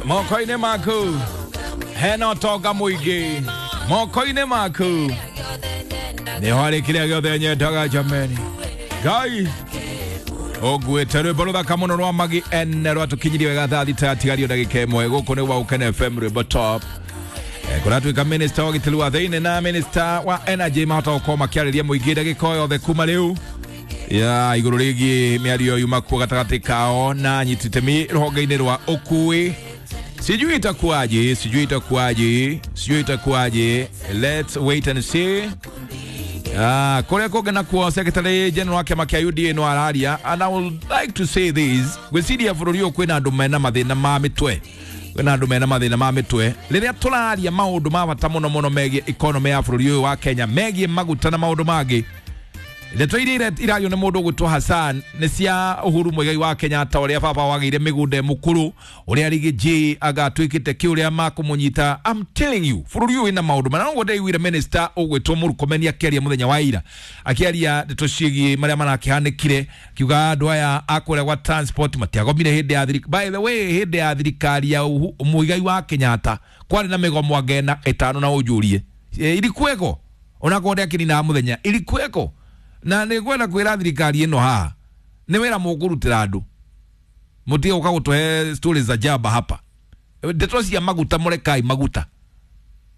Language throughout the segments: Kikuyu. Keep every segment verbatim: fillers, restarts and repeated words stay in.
Moko-inĩ maku hena ũtonga mũingĩ moko-inĩ maku nĩho harĩ kĩrĩa gĩothe nyendaga jameni Ngai ũnguĩte rwĩmbo rũthaka mũno rwa Magi N rwatũkinyirie wega thaa thita yatigario ndagĩka ĩmwe. Gũkũ nĩ gwa Ũkene F M rwĩmbo top. Kũratuĩka minister wa ũgitĩri wa thĩinĩ na minister wa energy mahota gũkorwo makĩarĩria mũingĩ ndagĩka o yothe kuma rĩu ya igũrũ rĩgiĩ mĩario yuma kuo gatagatĩ kao na anyiti itemi rũhonge-inĩ rwa ũkui. Sijui itakuwaje, sijui itakuwaje, sijui itakuwaje. Let's wait and see. Ah, kũrĩa kũngĩ nakuo Secretary General wa kĩama kĩa U D A no araria, and I would like to say this, gwĩciria bũrũri ũyũ kwĩna andũ mena mathĩna ma mĩtwe, kwĩna andũ mena mathĩna ma mĩtwe rĩrĩa tũraria maũndũ ma bata mũno mũno megiĩ economy ya bũrũri ũyũ wa Kenya, megiĩ maguta na maũndũ mangĩ. Ndeto iria irario nĩ mũndũ ũgwĩtwo Hassan nĩ cia Uhuru Muigai wa Kenyatta ũrĩa baba wagĩire mĩgũnda mũkũrũ, ũrĩa Riggy G agatuĩkĩte kĩ ũrĩa makũmũnyita. I'm telling you, bũrũri ũyũ wĩna maũndũ mana. Noguo ndaiguire minister ũgwĩtwo Murkomen akĩaria mũthenya wa ira, akĩaria ndeto ciĩgiĩ marĩa marakĩhanĩkire, akiuga andũ aya a kũrĩa gwa transport matiagomire hĩndĩ ya thirikari. By the way, hĩndĩ ya thirikari ya Muigai wa Kenyatta kwarĩ na mĩgomo angena ĩtano na ũnjũrie ilikuweko, onakorwo ndĩakĩninaga mũthenya, ilikuweko. Na nĩ ngwenda kwĩra thirikari ĩno haha nĩ wĩra mũkũrutĩra andũ, mũtige gũka gũtũhe stories za jaba hapa. Ndeto cia maguta mũrekai maguta,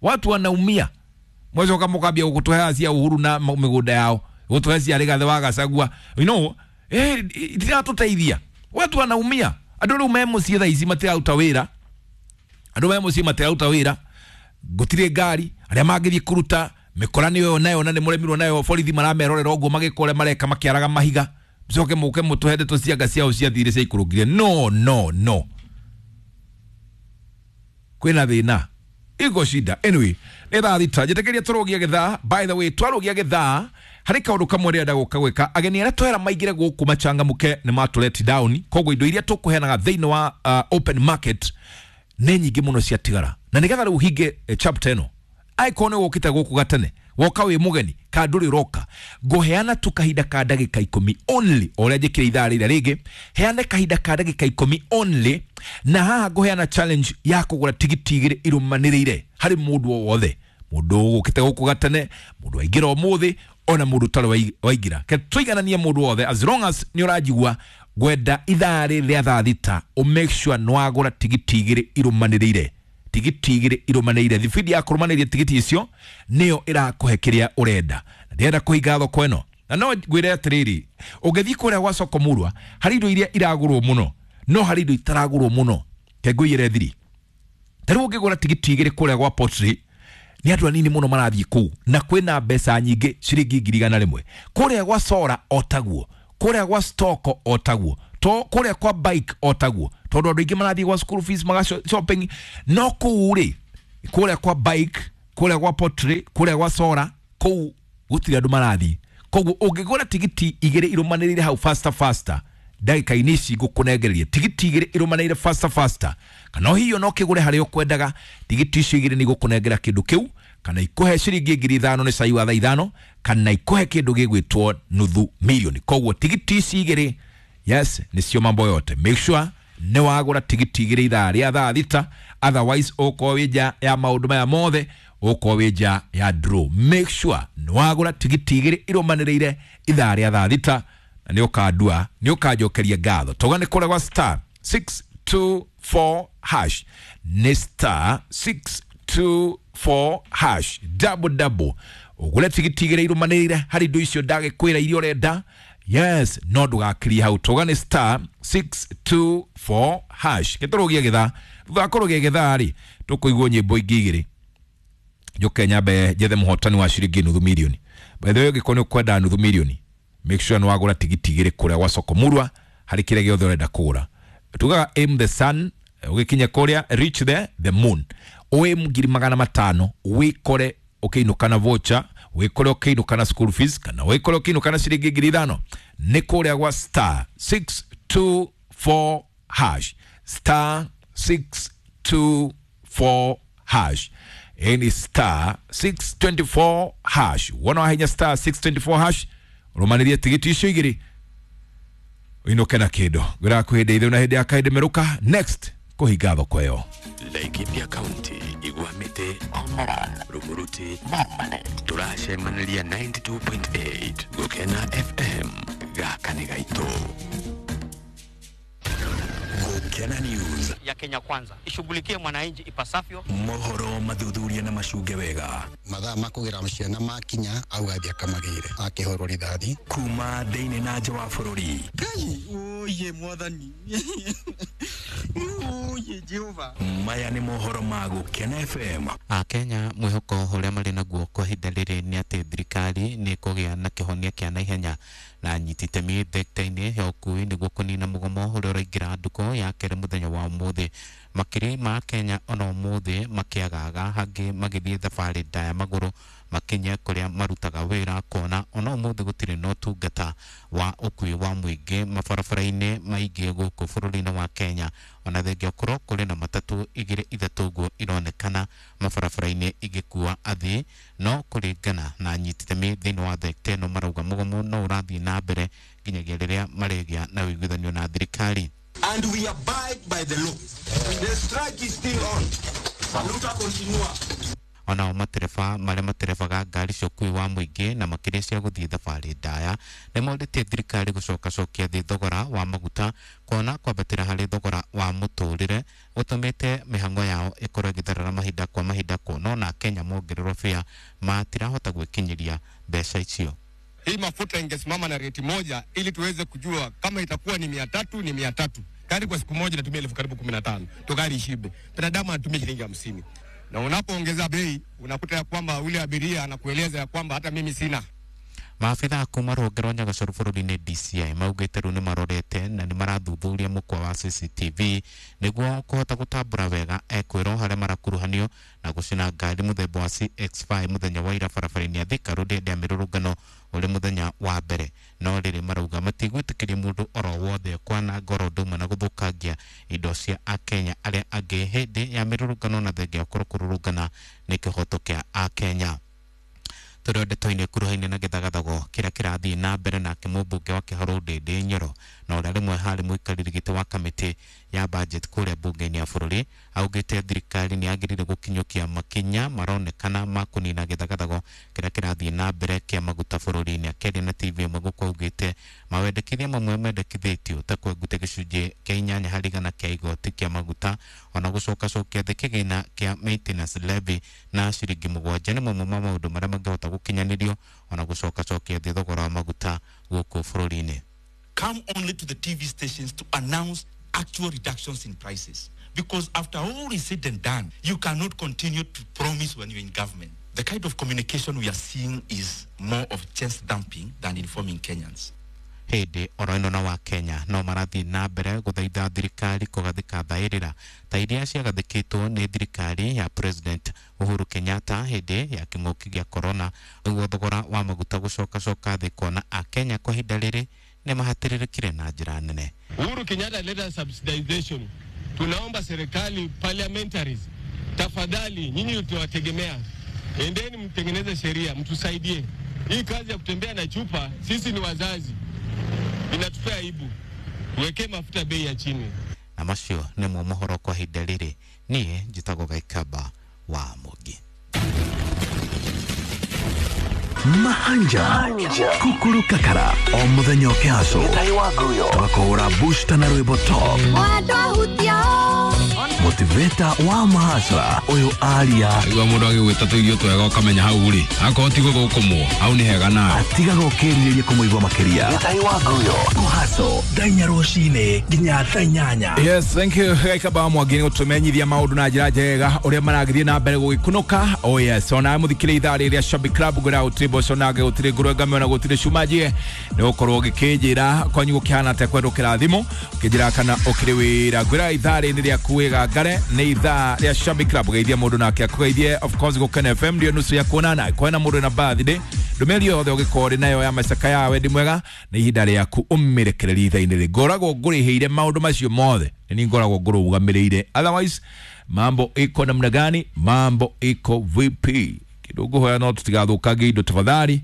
watu wanaumia. Mwacoka mũkambia gũtũhe cia Uhuru na mĩgũnda yao, gũtũhe cia Rigathĩ wa Gachagua, you know, eh, itiratũteithia. Watu wanaumia. Andũ rĩu me mũciĩ thaa ici matiraruta wĩra, andũ me mũciĩ matiraruta wĩra, gũtirĩ ngari, arĩa mangĩthiĩ kũruta mĩkora nĩyo nayo na nĩ mũremirwo nayo, borithi maramerorera ũguo magĩkora mareka makĩaraga mahiga, mũcoke mũke mũtũhe ndeto cia nga ciao ciathire ciaikũrũkire. No, no, no, kwĩna thĩna, iko shida. Anyway, nĩ thaa thita njĩtĩkĩria tũrũgie gĩthaa. By the way, twarũgia gĩthaa harĩ kaũndũ kamwe ndĩrenda gũka gwĩka. Ageni arĩa twera maingĩre gũkũ machangamũke nĩ matũleti down, koguo indo iria tũkũheanaga thĩinĩ wa uh, open market nĩ nyingĩ mũno ciatigara, na nĩgetha rĩu hinge eh, chapter ĩno angĩkorwo nĩ wũkĩte gũkũ gatene, woka wĩ mũgeni ka ndũrĩ ũroka, ngũheana tu kahinda ka ndagĩka ikũmi only, o ũrĩa njĩkĩre ithaa rĩrĩa rĩngĩ, heane kahinda ka ndagĩka ikũmi only. Na haha ngũheana challenge ya kũgũra tigiti igĩrĩ irũmanĩrĩire harĩ mũndũ o wothe, mũndũ ũgũkĩte gũkũ gatene, mũndũ waingĩra ũmũthĩ, ona mũndũ ũtarĩ waingĩra. Ke tũigananie mũndũ wothe, as long as nĩ ũranjigua ngwenda ithaa rĩrĩ rĩa thaa thita ũ make sure nĩ wagũra tigiti igĩrĩ irũmanĩrĩire, tigiti igĩrĩ irũmanĩrĩire. Thibindi ya kũrũmanĩria tigiti icio nĩyo ĩrakũhe kĩrĩa ũrenda. Na ndĩrenda kũhinga thoko ĩno, na no ngwĩre atĩrĩrĩ, ũngĩthiĩ kũrĩa gwa soko Murwa harĩ indo iria iragũrwo mũno, no harĩ indo itaragũrwo mũno. Ke ngũiyĩre thiri, ta rĩu ũngĩgũra tigiti igĩrĩ kũrĩa gwa Pottery nĩ andũ anini mũno marathiĩ kũu, na kwĩna mbeca nyingĩ ciringi ngiri igana rĩmwe. Kũrĩa gwa Sora o taguo, kũrĩa gwa Stoko o taguo, to kũrĩa kwa bike o taguo, tondũ andũ aingĩ marathiĩ gwa school fees maga shopping. No kũu rĩ, kũrĩa kwa bike, kũrĩa gwa Pottery, kũrĩa gwa Sora, kũu gũtirĩ andũ marathiĩ. Koguo ũngĩgũra tigiti igĩrĩ irũmanĩrĩire hau faster faster, ndagĩka-inĩ ici ngũkũnengereria tigiti igĩrĩ irũmanĩrĩire faster faster, kana hiyo no kĩgũre harĩa ũkwendaga. Tigiti icio igĩrĩ nĩ igũkũnengera kĩndũ kĩu, kana ikũhe ciringi ngiri ithano nĩ cai wa thaa ithano, kana ikũhe kĩndũ gĩgwĩtwo nuthu milioni. Koguo tigiti ici igĩrĩ, yes, nĩcio mambo yote. Make sure nĩ wagũra tigiti igĩrĩ ithaa rĩa thaa thita, otherwise ũkorwo wĩ nja ya maũndũ maya mothe, ũkorwo wĩ nja ya draw. Make sure nĩ wagũra tigiti igĩrĩ irũmanĩrĩire ithaa rĩa thaa thita, na nĩ ũkandua, nĩ ũkanjokeria ngatho. Tauga nĩ kũrĩa gwa star six two four hash, nĩ star six two four hash double double, ũgũre tigiti igĩrĩ irũmanĩrĩire harĩ indo icio ndagĩkwĩra iria ũrenda. Yes, no ndũgakĩrie hau. Tauga nĩ star six two four hash. Gĩtũrũgie gĩthaa, thutha wa kũrũgia gĩthaa rĩ, tũkũigua nyĩmbo ingĩ igĩrĩ, njũke nyambe njethe mũhotani wa ciringi nuthu milioni. By the way, ũngĩkorwo nĩ ũkwenda nuthu milioni, make sure nĩ wagũra tigiti igĩrĩ kũrĩa gwa soko Murwa harĩ kĩrĩa gĩothe ũrenda kũgũra. Tugaga aim the sun, ũgĩkinya kũrĩa reach the, the moon, ũĩ ngiri magana matano wĩkore ũkĩinũka na voucher, wĩkore ũkĩinũka na school fees, kana wĩkore ũkĩinũka na ciringi ngiri ithano. Nĩ kũrĩa gwa star six two four hash, star six two four hash, ni star six twenty four hash. Wona wahenya star six twenty four hash, ũrũmanĩrie tigiti icio igĩrĩ, Uinuke na kindu ngwira kwä hä ndä na hä ndä ya kaä meruka next kuhinga thoko ĩyo. Laikipia County, Igwamite, Omoran, Rumuruti, Marmanet. Turacemaniria ninety-two point eight Gukena F M gaka nĩ gaitũ. Gukena News ya Kenya Kwanza ishughulikie mwananchi ipasavyo. Mohoro mathuthuria na macunge wega. Mathaa makugira ciana makinya au athia kamagire akihurwo rithathi kuma thiini na nja wa bururi. Ngai oye mwathani oye Jehova. Maya ni mohoro ma Gukena F M. A Kenya mwihoko uria mari naguo kwa ihinda riri ni ati thirikari ni ikugia na kihonia kia naihenya na anyiti itemi thekta-ini ya ukui niguo kunina mugomo uria uraingira nduko ya keri muthenya wa umuthi. Makiri ma Kenya ona umuthi makiagaga hangi magithie thabari ndaya maguru makinye kuria marutaga wira kuona ona umuthi gutiri na utungata wa ukui wa muingi mabarabara-ini maingi guku bururi-ini wa Kenya. Ona thengia korwo kuri na matatu igiri ithatu uguo ironekana mabarabara-ini igikua athii, no kuringana na anyiti itemi thiini wa thekta ino marauga mugomo no urathii na mbere nginyagia riria marigia na uiguithanio na thirikari. And we abide by the law. The strike is still on. Luta continua. Onao matereba maria materebaga ngari cia ũkuui wa mũingĩ na makĩria cia gũthiĩ thabarĩ ndaya nĩmorĩtie thirikari gũcokacokia thĩ thogora wa maguta kuona kwambatĩra harĩ thogora wa mũtũrĩre gũtũmĩte mĩhang'o yao ĩkorwo ĩgĩtherera mahinda kwa mahinda kuona ona Kenya mongererwo bĩa matirahota gwĩkinyĩria mbeca icio. Hii mafuta ingesimama na rate moja ili tuweze kujua kama itakuwa ni mia tatu ni mia tatu. Gari kwa siku moja natumia elfu karibu kumi na tano. To gari ishibe. Binadamu anatumia shilingi hamsini. Na unapoongeza bei unakuta ya kwamba yule abiria anakueleza ya kwamba hata mimi sina. Maabithaa kuma rũhonge rwa Nyagacoru bũrũri-inĩ D C I maugĩte rĩu nĩmarorete na nĩmarathuthuria mũkwa wa C C T V nĩguo kũhota gũtambũra wega ekwĩrwo harĩa marakuruhanio na gũcina ngari mũthemba wa C X five mũthenya wa ira barabara-inĩ ya Thika Road hĩndĩ ya mĩrũrũngano ũrĩ mũthenya wa mbere. No rĩrĩ marauga matigwĩtĩkĩria mũndũ oro wothe kwananga oro ũndũ ũmwe na gũthũkangia indo cia Akenya arĩa angĩ hĩndĩ ya mĩrũrũngano na thengia gũkorwo kũrũrũngana nĩ kĩhoto kĩa Akenya. Tũrĩ ndeto-inĩ kuruhaine na gĩthagathago kĩrĩa kĩrathiĩ na mbere nake mũmbunge wa Kĩharũ Ndĩndĩ Nyoro na ũrĩa rĩmwe harĩ mũikarĩri gĩtĩ wa kamĩtĩ ya budget kũrĩa mbunge-inĩ ya bũrũri augĩte thirikari nĩ yagĩrĩire gũkinyũkia makinya maronekana ma kũnina gĩthagathago kĩrĩa kĩrathiĩ na mbere kĩa maguta bũrũri-inĩ. Akĩaria na T V ĩmwe gũkũ augĩte mawendekithia mamwe mendekithĩtio ta kwenguta gĩcunjĩ kĩa inyanya harĩ igana kĩa igoti kĩa maguta ona gũcokacokia thĩ kĩgĩna kĩa maintenance levy na ciringi mũgwanja nĩ mamwe ma maũndũ marĩa mangĩhota gũkinyanĩrio ona gũcokacokia thĩ thogora wa maguta gũkũ bũrũri-inĩ. Come only to the T V stations to announce actual reductions in prices. Because after all is said and done, you cannot continue to promise when you're in government. The kind of communication we are seeing is more of chest dumping than informing Kenyans. Hĩndĩ oro ĩno na wa Kenya no marathiĩ na mbere gũthaitha thirikari kũgathĩka thaĩrĩra ta iria ciagathĩkĩtwo nĩ thirikari ya President Uhuru Kenyatta hĩndĩ ya kĩng'ũki gĩa corona nĩguo thogora wa maguta gũcokacoka thĩ kuona Akenya kwa ihinda rĩrĩ nĩ mahatĩrĩrĩkire na njĩra nene. Uhuru Kenyatta alileta subsidization. Tunaomba serikali parliamentaries, tafadhali nyinyi tunawategemea, endeni mtengeneze sheria mtusaidie. Hii kazi ya kutembea na chupa, sisi ni wazazi, inatupea aibu. Tuweke mafuta bei ya chini. Na macio nĩmo mohoro kwa ihinda rĩrĩ. Niĩ njĩtagwo Gaikaba wa Mũgi. Mahanja Kukuru Kakara o muthenya ũkĩhacwo tũgakũhũra booster na rwĩmbo top motivator wa mahacra ũyũ aria igua mũndũ agĩgwĩta tũirio twega ũkamenya hau rĩ akorwo ti gũthũkũmwo hau nĩ hega nawe atigaga ũkĩrirĩria kũmũigua makĩria kũhaco thaa inya rũcinĩ nginya thaa inyanya. Yes, thank you Gaikaba Mwangi nĩ gũtũmenyithia maũndũ na njĩra njega ũrĩa maragĩthiĩ na mbere gũgĩkunũka. Oh yes, ona mũthikĩrĩria ithaa rĩrĩa Shabby Club ngwĩra gũtirĩ mboco nake gũtirĩ ngũrwe ngamĩo na gũtirĩ cumanjie nĩ gũkorwo ũgĩkĩnjĩra kwanyu gũkĩhana atĩa kwerũkĩra thimũ ũkĩnjĩra kana ũkĩrĩ wĩra. Ngwĩra ithaa rĩrĩ rĩaku wĩgangare nĩ ithaa rĩa Shabby Club geithia mũndũ nake akũgeithie of course Gũkena F M ndio nusu ya kuonana kwena mũndũ na birthday ndũmĩrĩri yothe ũgĩkorwo ũrĩ nayo ya macaka ya wendi mwega nĩ ihinda rĩaku ũmĩrekererie ithaa-inĩ rĩ ngoragwo ngũrĩhĩire maũndũ macio mothe nĩ ngoragwo ngũrũgamĩrĩire. Otherwise mambo iko namna gani? Mambo iko vipi? Kidogo hoya no tutigathũkangie indo tafadhali.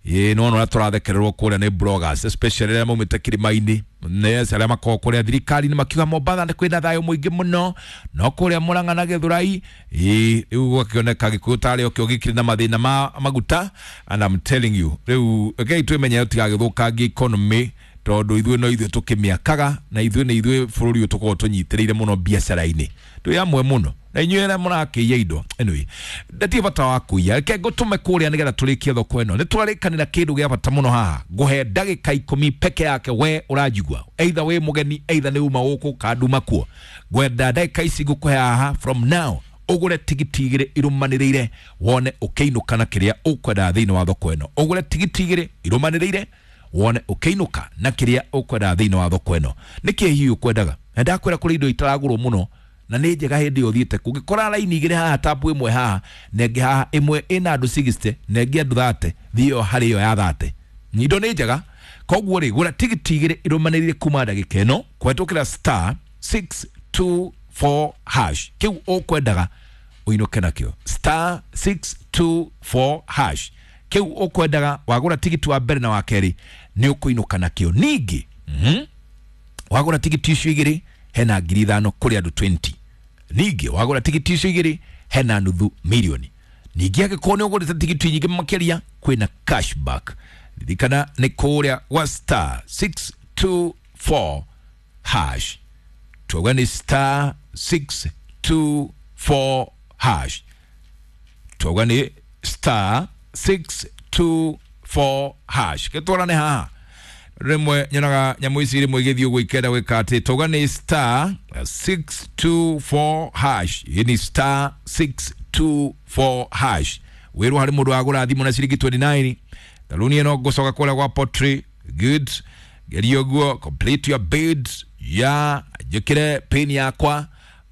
Ĩ no no tũrathekererwo kũrĩa nĩ bloggers, especially arĩa maumĩte kĩrĩma-inĩ. Yes, arĩa makoragwo kũrĩa thirikari-inĩ makiuga Mombatha nĩ kwĩna thayũ mũingĩ mũno, no kũrĩa Murang'a na Gĩthũrai ĩ rĩu gũgakĩoneka Gĩkũyũ tarĩ o kĩo gĩkĩrĩ na mathĩna ma maguta. And I'm telling you, rĩu rekei twĩmenye tũtigagĩthũkangie economy, tondũ ithuĩ no ithuĩ tũkĩmĩakaga na ithuĩ nĩ ithuĩ bũrũri ũyũ tũkoragwo tũnyitĩrĩire mũno biacara-inĩ, twĩ amwe mũno na inyuĩ arĩa mũrakĩiya indo. Anyway, ndatirĩ bata wa kũiya, reke ngũtũme kũrĩa nĩgetha tũrĩkie thoko ĩno. Nĩ twarĩkanĩra kĩndũ gĩa bata mũno haha, ngũhe ndagĩka ikũmi peke yake we ũranjigua, either wĩ mũgeni, either nĩ uma gũkũ kana nduma kuo. Ngwenda ndagĩka ici ngũkũhe haha from now ũgũre tigiti igĩrĩ irũmanĩrĩire, wone ũkĩinũka na kĩrĩa ũkwendaga thĩinĩ wa thoko ĩno. Ũgũre tigiti igĩrĩ irũmanĩrĩire, wone ũkĩinũka na kĩrĩa ũkwendaga thĩinĩ wa thoko ĩno. Nĩkĩ hihi ũkwendaga? Na ndakwĩra kũrĩ indo itaragũrwo mũno na nĩ njega hĩndĩ ĩyo ũthiĩte kũngĩkora raini igĩrĩ haha, tapu ĩmwe haha na ĩngĩ haha, ĩmwe ĩna andũ sixty na ĩngĩ andũ thirty, thiĩ ĩyo harĩ ĩyo ya thirty. Indo nĩ njega. Koguo rĩ, gũra tigiti igĩrĩ irũmanĩrĩire kuma ndagĩka ĩno kũhetũkĩra star six two four hash, kĩu ũkwendaga ũinũke nakĩo. Star six two four hash, kĩu ũkwendaga wagũra tigiti wa mbere na wa kerĩ nĩ ũkũinũka nakĩo. Ningĩ mm-hmm, wagũra tigiti icio igĩrĩ hena ngiri ithano kũrĩ andũ twenty. Ningĩ wagũra tigiti icio igĩrĩ hena nuthu milioni. Ningĩ angĩkorwo nĩ ũgũrĩte tigiti nyingĩ makĩria kwĩna cashback. Ririkana nĩ kũrĩa gwa star six two four hash, twauga nĩ star six two four hash, twauga nĩ star six two four hash. Gĩtwarane haha rĩmwe nyonaga nyamũ ici rĩmwe igĩthiĩ ũguo ikenda gwĩka atĩ twauga nĩ star six two four hash, ĩ nĩ star six two four hash. Wĩrwo harĩ mũndũ wagũra thimũ na ciringi twenty nine, tharuni ĩno ngũcoka kũrĩa gwa pottery good, geria ũguo, complete your bid ya njĩkĩre pin yakwa,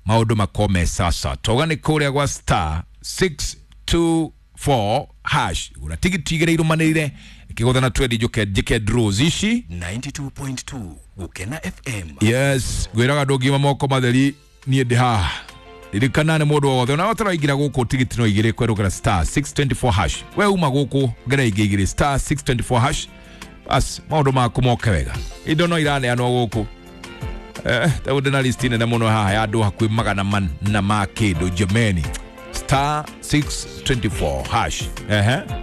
maũndũ makome sasa. Twauga nĩ kũrĩa gwa star six two four hash, gũra tigiti igĩrĩ irũmanĩrĩire ikĩgũtha na twendi njũke njĩke draws ici ninety two point two Gukena F M. Yes, ngwĩraga ndũngiuma moko matheri niĩ ndĩ haha. Ririkana nĩ mũndũ o wothe ona ũtaraingĩra gũkũ tigiti no igĩrĩ kwerũkĩra star six twenty four hash. We uma gũkũ ngera ingĩ igĩrĩ star six twenty four hash, bas maũndũ maku moke wega. Indo no iraneanwo gũkũ. Eh, ta ndĩ na list nene mũno haha ya andũ hakuhĩ magana mana ma kĩndũ jameni. Star six twenty four hash. Ehe.